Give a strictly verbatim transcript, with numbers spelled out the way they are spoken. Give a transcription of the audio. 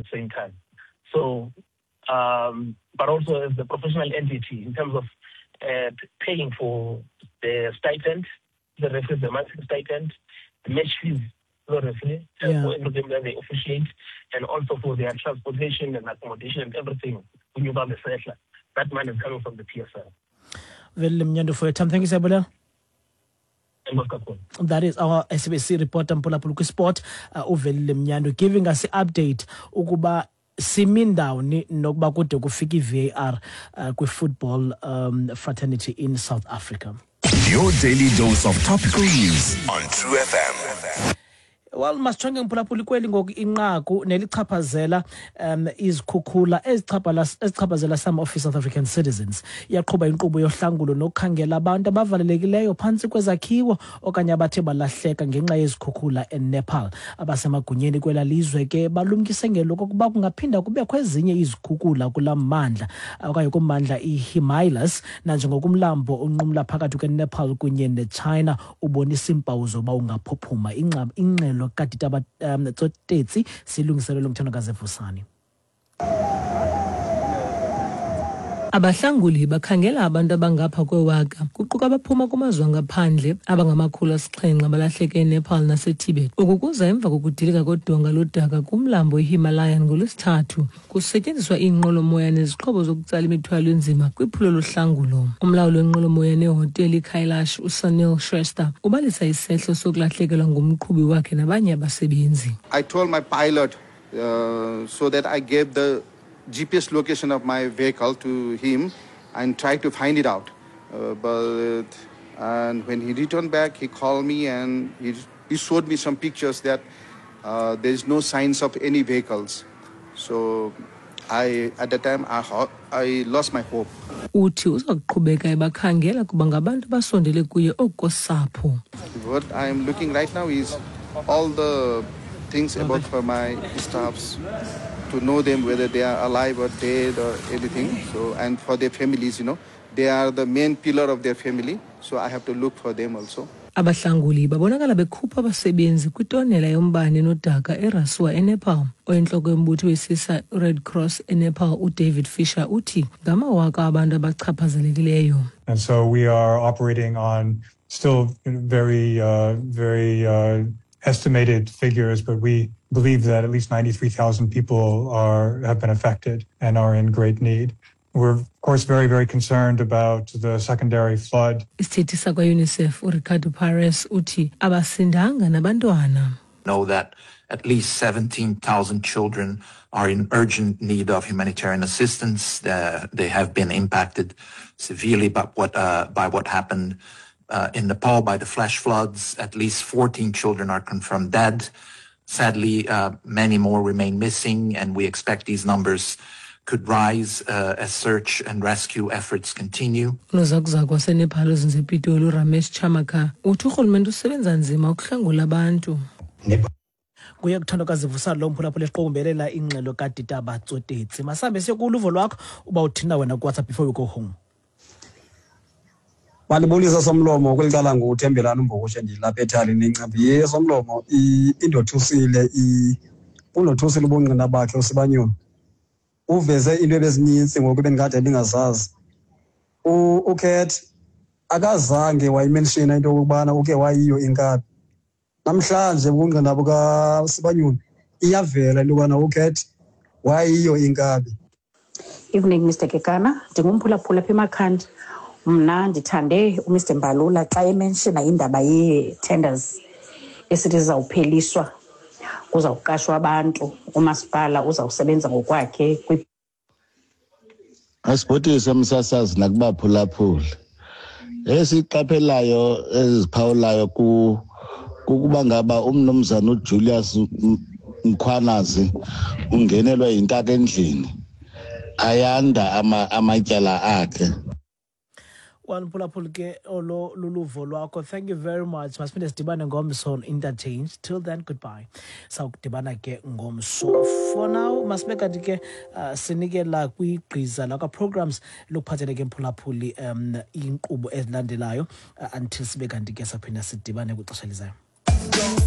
the same time. So, um, but also as the professional entity in terms of uh, paying for the stipend, the referees, the monthly stipend, the match fees, the referee, uh, Yeah. for every game that they officiate, and also for their transportation and accommodation and everything when you buy the settler. That money is coming from the P S L. Velile Mnyandu, for your time. Thank you, Siyabulela. Enkosi kakhulu. That is our S A B C reporter, mphulaphuli, kwisport, uh, uVelile Mnyandu, giving us i-update ukuba simi ndawoni nokuba kude kufika i-V A R uh, kwi-football um, fraternity in South Africa. Your daily dose of topical news on True F M. Well, masijonge, mphulaphuli, kweli ngoku inqaku nelichaphazela um izikhukhula ezichaphala- ezichaphazela some of South African citizens. Iyaqhuba inkqubo yohlangulo nokukhangela abantu abavalelekileyo phantsi kwezakhiwo okanye abathe balahleka ngenxa yezikhukhula eNepal. Abasemagunyeni kwela lizwe ke balumkise ngelokokuba kungaphinda kubekho ezinye izikhukhula kulaa mmandla okanye kummandla iHimalayas, nanjengokumlambo unqumla phakathi kweNepal kunye neChina ubonisa iimpawu zoba ungaphuphuma. Ingxa- ingxelo kaDitaba um, Tsotetsi silungiselelwe nguThandokazi Vusani. Abahlanguli bakhangela abantu abangapha kwewaka, kuquka abaphuma kumazwe angaphandle, abangamakhulu asixhenxe abalahleke eNepal naseTibet. Oku kuza emva kokudilika kodonga lodaka kumlambo iHimalayan ngoLwesithathu, kusetyenziswa iinqwelomoya nezixhobo zokutsala imithwalo enzima kwiphulo lohlangulo. Umlawuli wenqwelomoya nehoteli iKailash, uSunil Shrestha, ubalisa isehlo sokulahlekelwa ngumqhubi wakhe nabanye abasebenzi. I told my pilot uh, so that I gave the G P S location of my vehicle to him and tried to find it out. Uh, but and when he returned back, he called me and he, he showed me some pictures that uh, there is no signs of any vehicles. So I at that time I, ho- I lost my hope. Uthi uza kuqhubeka ebakhangela kuba ngabantu abasondele kuye okosapho. What I am looking right now is all the things about for my staffs, to know them, whether they are alive or dead or anything. So, and for their families, you know, they are the main pillar of their family. So I have to look for them also. Abahlanguli babonakala bekhupha abasebenzi kwitonela yombane nodaka eRasuwa eNepal. Oyintloko yombutho wesisa Red Cross eNepal, uDavid Fisher, uthi ngamawaka abantu abachaphazelekileyo. And so we are operating on still very, uh, very uh, estimated figures, but we believe that at least ninety-three thousand people are have been affected and are in great need. We're, of course, very, very concerned about the secondary flood. Isithethi sakwa-UNICEF uRicardo Pires uthi abasindanga nabantwana. Know that at least seventeen thousand children are in urgent need of humanitarian assistance. Uh, they have been impacted severely by what, uh, by what happened uh, in Nepal by the flash floods. At least fourteen children are confirmed dead. Sadly, uh, many more remain missing, and we expect these numbers could rise uh, as search and rescue efforts continue. Unozakuzaku waseNepal ozinze ePitoli, uRamesh Charmakar, uthi urhulumente usebenza nzima ukuhlangula abantu. Kuye kuThandokazi Vusani lo, mphulaphula, eqokumbelela ingxelo kaDitaba Tsotetsi. Masihambe siye kuluvo lwakho uba uthina wena kuWhatsApp before we go home. Mandibulise, Somlomo. Kweli cala nguThembelani uMbokushe, ndilapha ethalini eNcambi. Ye Somlomo, i- indothusile, i- undothusile ubungqina bakhe uSibanyoni. Uveze into ebezinintsi ngoku ebendikade ndingazazi. U- uCat akazange wayimenshina into yokokubana uke wayiyo inkabi. Namhlanje ubungqina bukaSibanyoni iyavela into yokubana uCat wayiyo inkabi. Evening, Mister Kekana. Ndingumphulaphula apha eMakhanda. Mna ndithande uMister Mbalula xa emenshina indaba yee-tenders esithi zizawupheliswa, kuzawuqashwa abantu, umasipala uzawusebenza ngokwakhe. Asibhotise, umsasazi, nakubaphulaphuli. Esiqaphelayo eziphawulayo ku kukuba ngaba umnumzana uJulius Mkhwanazi ungenelwe yintaka endlini, ayanda ama, amatyala akhe. Well, mphulaphuli, ke olo luluvo lwakho. Thank you very much. Masiphinde sidibane ngomso on Interchange. Till then, goodbye. Sawukudibana ke ngomso. For now, masibe kanti ke uh, sinikela kwigqiza lakwa-programs lokuphathele ke, mphulaphuli, um iinkqubo ezilandelayo uh, until sibe kanti ke saphinda sidibane kwixesha elizayo.